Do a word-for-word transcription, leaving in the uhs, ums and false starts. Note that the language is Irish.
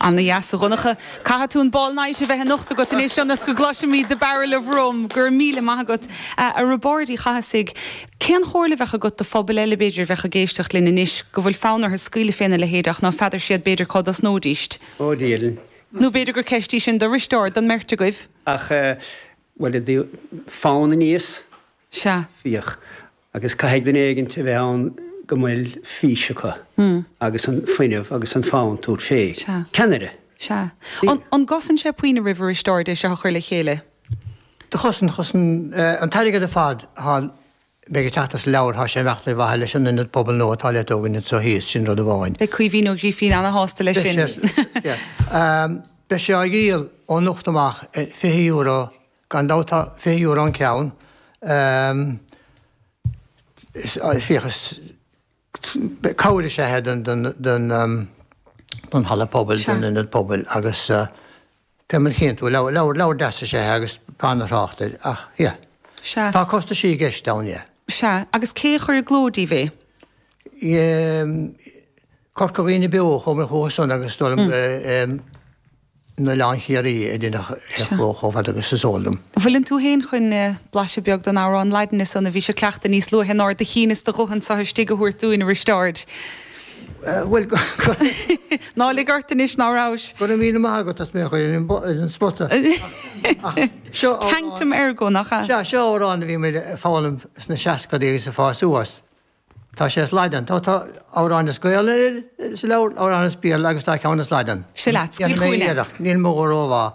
Ana-dheas, a Dhonncha. Caithfidh tú an ball night a bheith anocht agat anois ionas go gcloisfimid The Barrel of Rum. Go raibh míle maith agat. A Roibeaird Uí Chathasaigh, cén chomhairle a bheadh agat do phobal eile b'fhéidir a bheadh ag éisteacht linn anois go bhfuil fonn orthu scaoileadh féna leithéid ach ná feadar siad b'fhéidir cá dtosnóidíst? Ó Dia. Nó b'fhéidir gur ceist í sin do Risteárd, don mbeirt agaibh? Ach bhuel, fonn aníos. Sea. Fiach. Agus caithfidh duine éigin a bheith ann go bhfuil fís acu agus an fuinneamh agus an fonn tabhairt fé. Sea. Ceannaire. Sea. An gcosain sé puinn oraibh a Risteáird é seo a chur le chéile? Do chosain, chosain an t-airgead ar fad atá beidh ag teacht as an leabhar, tá sé ag imeacht ar mhaithe leis an ionad pobail nua atá le tógaint anseo thíos, sin rud amháin. Beidh Caoimhín Ó Grífín ana-shásta leis sin. Beidh sé á dhíol ó anocht amach fiche euro, gan dabht tá fiche euro an ceann. Féach, is cabhair is ea é don halla pobail, don ionad pobail agus fé mar a chíonn tú, leabhar, leabhar deas is ea é agus an-thrácht air ach yeah. Sea. Tá costaisí i gceist ann, yeah. Sea, agus cé a chuir i gcló daoibh é? Corca Dhuibhne Beo, chuamar chucu san agus dul in Oileán Chiarraí a deineadh é a chló chomh fada agus is eol dom. Bhfuileann tú féin chun blaiseadh beag den amhrán Laidine san a bhís ag cleachtadh níos luaithe in ard do chinn is do ghuth anso istigh a thabhairt dúinn, a Risteáird? Bhuel, go. Ná lig ort anois ná rabhais. Go raibh míle maith agat as mé a chur ar an spota. Ach seo amhrán. Tantum ergo, nach ea? Sea, seo amhrán a bhí muid ag foghlaim sna seascadaí agus ag fás suas. Tá sé as Laidin. Tá tá amhrán as Gaolainn sa leabhar, amhrán as Béarla agus tá ceann as Laidin. Seo leat, scaoil Déanfaidh mé chugainn é. iarracht, níl mo ghuth rómhaith